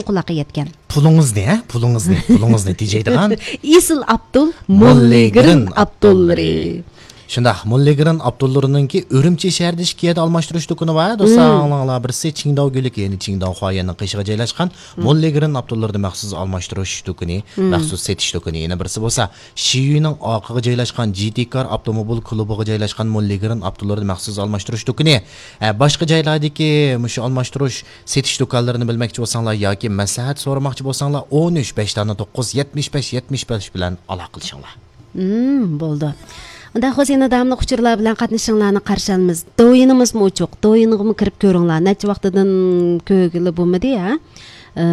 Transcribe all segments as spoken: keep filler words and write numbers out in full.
قۇلاققا يەتكەن. پۇلىڭىزنى، ھە؟ پۇلىڭىزنى، پۇلىڭىزنى تېجەيدىغان ئېسىل ئاپتول، موللىگرىن ئاپتوللىرى. شۇنداق، موللىگرىن ئاپتوللىرىنىڭكى ئۈرۈمچى شەھىرىدە ئىككى يەردە ئالماشتۇرۇش دۇكىنى بار، دوستلار. مم. ئاڭلاڭلار، بىرسى چىڭداۋ گۈلۈكى، يەنى چىڭداۋ خۇايەننىڭ قېشىغا جايلاشقان، مم، موللىگرىن ئاپتوللىرىدا مەخسۇس ئالماشتۇرۇش دۇكىنى، مم، مەخسۇس سېتىش دۇكىنى. يەنە بىرسى بولسا، شىيۈنىڭ ئارقىغا جايلاشقان جى تى كار ئاپتوموبىل كۇلۇبىغا جايلاشقان موللىگرىن ئاپتوللىرىدا مەخسۇس ئالماشتۇرۇش دۇكىنى. ئە، باشقا جايلاردىكى مۇشۇ ئالماشتۇرۇش سېتىش دۇكانلىرىنى بىلمەكچى بولساڭلار ياكى مەسلىھەت سورىماقچى بولساڭلار، ئون ئۈچ، بەش دانە توققۇز، يەتمىش بەش، يەتمىش بەش بىلەن ئالاقىلىشىڭلار. مم، بولدى. ئۇنداق بولسا يەنە داۋاملىق ئۇچۇرلار بىلەن قاتنىشىشىڭلارنى قارشى ئالىمىز. دويىنىمىزمۇ ئوچۇق. دويىنغىمۇ كىرىپ كۆرۈڭلار. نەچچە ۋاقتىدىن كۆرگىلى بولمىدى، ھە؟ ئە،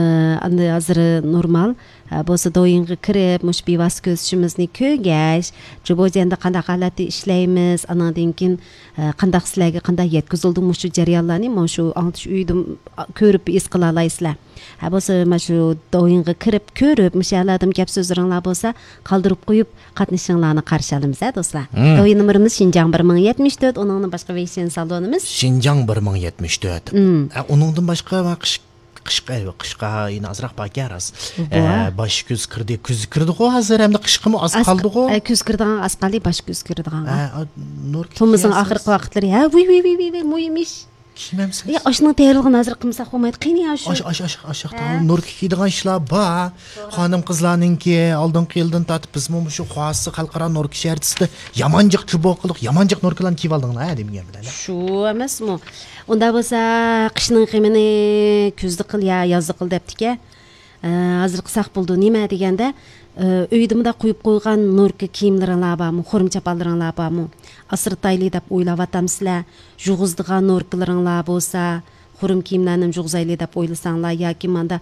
ئەمدى ھازىر نورمال. ھە، بولسا دويىنغا كىرىپ، مۇشۇ بىۋاسىتە كۆرۈشۈشىمىزنى كۆرگەچ، جۇبوجيەندە قانداق ھالەتتە ئىشلەيمىز، ئانىڭدىن كېيىن، ئە، قانداق سىلەرگە قانداق يەتكۈزۈلدى مۇشۇ جەريانلارنى، مانا شۇ ئاڭلىتىش ئۆيىدە كۆرۈپ ھېس قىلالايسىلەر. ھە، بولسا مانا شۇ دويىنغا كىرىپ كۆرۈپ، مۇشۇ يەرلەردىمۇ گەپ سۆزلىرىڭلار بولسا قالدۇرۇپ قويۇپ، قاتنىشىشىڭلارنى قارشى ئالىمىز، ھە، دوستلار. مم. دويىن نومۇرىمىز شىنجاڭ بىر مىڭ يەتمىش تۆت، ئۇنىڭدىن باشقا ۋېيشىن سالونىمىز. شىنجاڭ بىر مىڭ يەتمىش تۆت. مم. ئە، ئۇنىڭدىن باشقا، ۋە قىش، قىشقا، ئەيۋە، قىشقا يەنە ئازراق باركەن، راست. بۇ. ئە، باش كۈز كىردى، كۈز كىردىغۇ ھازىر، ھەمدە قىشقىمۇ ئاز ئاز ق-، قالدىغۇ. ئە، كۈز كىردىغان ئاز قالدى، باش كۈز كىردىغان. ئە، ئا، نور تومۇزنىڭ كېچىسى ئاخىرقى ۋاقىتلىرى. ھە، ۋۇي، ۋۇي، ۋۇي، ۋۇي، ۋۇي، مۇھىم ئىش. كىيمەمسىز؟ يا، ئاشنىڭ تەييارلىقىنى ھازىر قىلمىساق بولمايدۇ. قېنى يا شۇ؟ ئاش، ئاش، ئاش، ئاشاق ھە. تاغام نوركا كىيىدىغان ئىشلار بار. خانىم قىزلارنىڭكى ئالدىنقى يىلدىن تارتىپ بىزمۇ مۇشۇ خۇاسى خەلقئارا نوركا شەھەرچىسىدە يامان جىق چۇبۇق قىلىپ، يامان جىق نوركىلارنى كىيىۋالدىڭلار، ھە، دېمىگەن بىلەن. شۇ ئەمەسمۇ؟ ئۇنداق بولسا قىشنىڭ غېمىنى كۈزدە قىل يا يازدا قىل دەپتىكەن. ئە، ھازىر قىلساق بولىدۇ. نېمە دېگەندە، ئە، ئۆيدە مۇنداق قويۇپ قويغان نوركا كىيىملىرىڭلار بارمۇ؟ خۇرۇم چاپانلىرىڭلار بارمۇ؟ ئاسرىتايلى دەپ ئويلاۋاتامسىلەر؟ يۇغۇزىدىغان نوركىلىرىڭلار بولسا، خۇرۇم كىيىملەرنى يۇغۇزايلى دەپ ئويلىساڭلار ياكى ماندا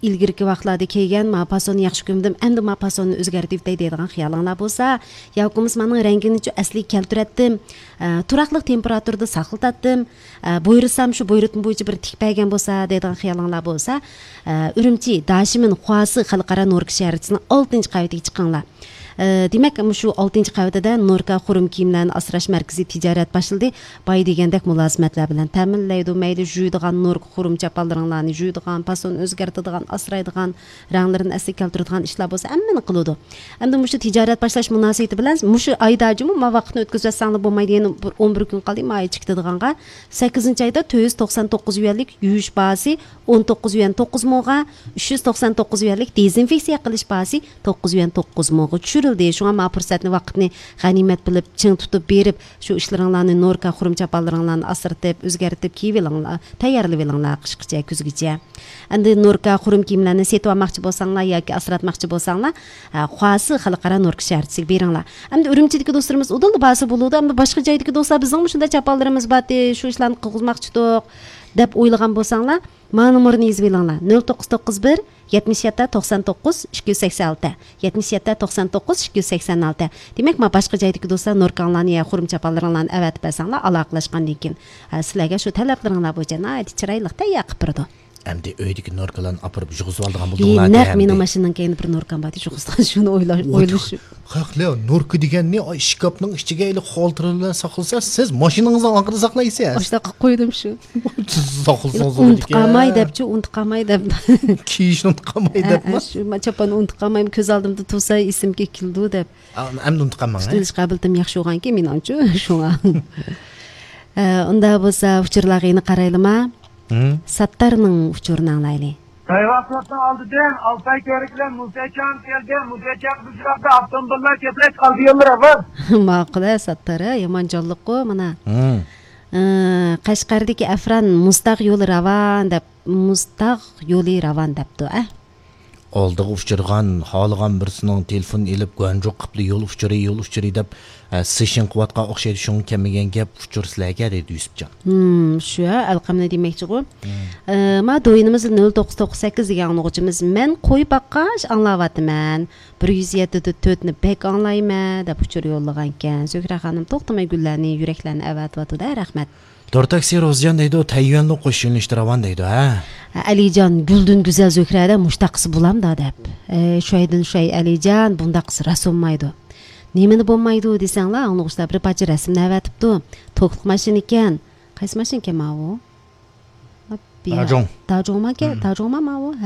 ئىلگىرىكى ۋاقىتلاردا كىيگەن ما پاسوننى ياخشى كۆرمىدىم، ئەمدى ما پاسوننى ئۆزگەرتىۋېتەي دەيدىغان خىيالىڭلار بولسا، ياكى بولمىسا مانىڭ رەڭگىنىچۇ ئەسلىگە كەلتۈرەتتىم، ئە، تۇراقلىق تېمپېراتۇرىدا ساقلىتاتتىم، ئە، بۇيرۇسام شۇ بۇيرۇتما بويىچە بىر تىكىپ بەرگەن بولسا دەيدىغان خىيالىڭلار بولسا، ئە، ئۈرۈمچى داشىمىن خۇاسى خەلقئارا نوركا شەھەرچىسىنىڭ ئالتىنچى قەۋىتىگە چىقىڭلار. ئە، دېمەك، مۇشۇ ئالتىنچى قەۋىتىدە نوركا خۇرۇم كىيىملەرنى ئاسراش مەركىزى تىجارەت باشلىدى. باي دېگەندەك مۇلازىمەتلەر بىلەن تەمىنلەيدۇ. مەيلى يۇيىدىغان نوركا خۇرۇم چاپانلىرىڭلارنى يۇيىدىغان، پاسون ئۆزگەرتىدىغان، ئاسرايدىغان، رەڭلىرىنى ئەسلىگە كەلتۈرىدىغان ئىشلار بولسا ھەممىنى قىلىدۇ. ئەمدى مۇشۇ تىجارەت باشلاش مۇناسىۋىتى بىلەن مۇشۇ ئايدا جۇمۇ ما ۋاقىتنى ئۆتكۈزۈۋەتسەڭلار بولمايدۇ. يەنە بىر ئون بىر كۈن قالدى ما ئاي چىقىدىغانغا. سەككىزىنچى ئايدا تۆت يۈز توقسان توققۇز يۈەنلىك يۇيۇش باھاسى ئون توققۇز يۈەن توققۇز موغا، ئۈچ يۈز توقسان توققۇز يۈەنلىك دېزىنفېكسىيە قىلىش باھاسى توققۇز يۈەن توققۇز موغا چۈشۈرۈلدى. شۇڭا ما پۇرسەتنى، ۋاقىتنى غەنىيمەت بىلىپ، چىڭ تۇتۇپ بېرىپ، شۇ ئىشلىرىڭلارنى، نوركا خۇرۇم چاپانلىرىڭلارنى ئاسرىتىپ، ئۆزگەرتىپ كىيىۋېلىڭلار، تەييارلىۋېلىڭلار قىشقىچە، كۈزگىچە. ئەمدى نوركا خۇرۇم كىيىملەرنى سېتىۋالماقچى بولساڭلار ياكى ئاسراتماقچى بولساڭلار، ھە، خۇاسى خەلقئارا نوركا شەھەرچىسىگە بېرىڭلار. ئەمدى ئۈرۈمچىدىكى دوستلىرىمىز ئۇدۇللا بارسا بولىدۇ. ئەمدى باشقا جايدىكى دوستلار، بىزنىڭمۇ شۇنداق چاپانلىرىمىز بارتى، شۇ ئىشلارنى قىلغۇزماقچىدۇق دەپ ئويلىغان بولساڭلار، مانا نومۇرنى يېزىۋېلىڭلار. نۆل توققۇز توققۇز بىر، يەتمىش يەتتە، توقسان توققۇز، ئىككى يۈز سەكسەن ئالتە، يەتمىش يەتتە، توقسان توققۇز، ئىككى يۈز سەكسەن ئالتە. دېمەك، ما باشقا جايدىكى دوستلار نوركاڭلارنى يا خۇرۇم چاپانلىرىڭلارنى ئەۋەتىپ بەرسەڭلار، ئالاقىلەشكەندىن كېيىن، ھە، سىلەرگە شۇ تەلەپلىرىڭلار بويىچە ناھايىتى چىرايلىق تەييار قىلىپ بېرىدۇ. ئەمدى ئۆيدىكى نوركىلارنى ئاپىرىپ يۇغۇزۇۋالىدىغان ئى، بولدۇڭلار نەق دە مېنىڭ ئەمدى. ماشىنىنىڭ كەينىدە بىر نوركام بار ئىدى، يۇغۇزغان شۇنى ئويلاش، ئويلىشىپ. قاقلىيا، نوركا دېگەننى ئاي، ئىشكاپنىڭ ئىچىگە ئېلىپ خالتىرا بىلەن ساقلىسا، سىز ماشىنىڭىزنىڭ ئارقىدا ساقلايسىز. ئاشۇنداق قىلىپ قويدۇم شۇ. ساقلىسىڭىز ئۇنتۇپ قالماي دەپچۇ، ئۇنتۇپ قالماي دەپ. كىيىشنى ئۇنتۇپ قالماي ئە، دەپمۇ؟ ئە، شۇ، ما چاپاننى ئۇنتۇپ قالمايمەن، كۆز ئالدىمدا تۇرسا ئېسىمگە كېلىدۇ دەپ. ئا، ئەمدى ئۇنتۇپ قالماڭ، ھە؟ تۇتۇۋېلىش قابىلىيىتىم ياخشى بولغانكى مېنىڭچۇ، شۇڭا. ئە، ئۇنداق بولسا ئۇچۇرلارغا يەنە قارايلىما. ھىم. ساتتارنىڭ ئۇچۇرىنى ئاڭلايلى. خەيرات سوتنىڭ ئالدىدىن ئالتاي كۆۋرۈك بىلەن مۇسەجان كەلدى. مۇسەجان بىز ئۇچراپتۇ، ئاپتوموبىللار كۆپرەك قالدى يوللار ئاۋاز. ماقۇل ھە، ساتتار ھە، يامان جانلىققۇ مانا. ھىم. ئى، قەشقەردىكى ئەفران مۇزتاغ يولى راۋان دەپ، مۇزتاغ يولى راۋان دەپتۇ، ئە. ئالدىغا ئۇچرىغان، خالىغان بىرسىنىڭ تېلېفون ئېلىپ، گۇەنجۇق قىپلا يول ئۇچۇرى، يول ئۇچۇرى دەپ، ئە، سېشىن قىلىۋاتقان ئوخشايدۇ، شۇڭا كەلمىگەن گەپ، ئۇچۇر سىلەرگە، دەيدۇ يۈسۈپجان. ھىم، شۇ، ئەلقەمنى دېمەكچىغۇ. ھىم. ئە، ما دويىنىمىز نۆل توققۇز توققۇز سەككىز دېگەن ئاڭلىغۇچىمىز، مەن قوي باققاچ ئاڭلاۋاتىمەن. بىر يۈز يەتتە تۆتنى بەك ئاڭلايمەن، دەپ ئۇچۇر يوللىغانىكەن. زۆھرە خانىم توختىماي گۈللەرنى، يۈرەكلەرنى ئەۋەتىۋاتىدۇ، رەھمەت. تور تاكسى روزىجان دەيدۇ، تەييۈەنلۇق قوش يۆنىلىشتە راۋان دەيدۇ، ھە؟ ئەلىجان، گۈلدىن گۈزەل زۆھرەدە مۇشتاقىسى بولامدا دەپ. ئە، شۇ ئايدىن شۇ ئاي ئەلىجان، بۇنداققىسى راست بولمايدۇ. نېمىنى بولمايدۇ دېسەڭلار، ئاڭلىغۇچىلار بىر پارچە رەسىمنى ئەۋەتىپتۇ. توكلۇق ماشىنا ئىكەن. قايسى ماشىنا ئىكەن ماۋۇ؟ داجۇڭ. داجۇڭما ئىكەن؟ مم. داجۇڭما ماۋۇ؟ ھە.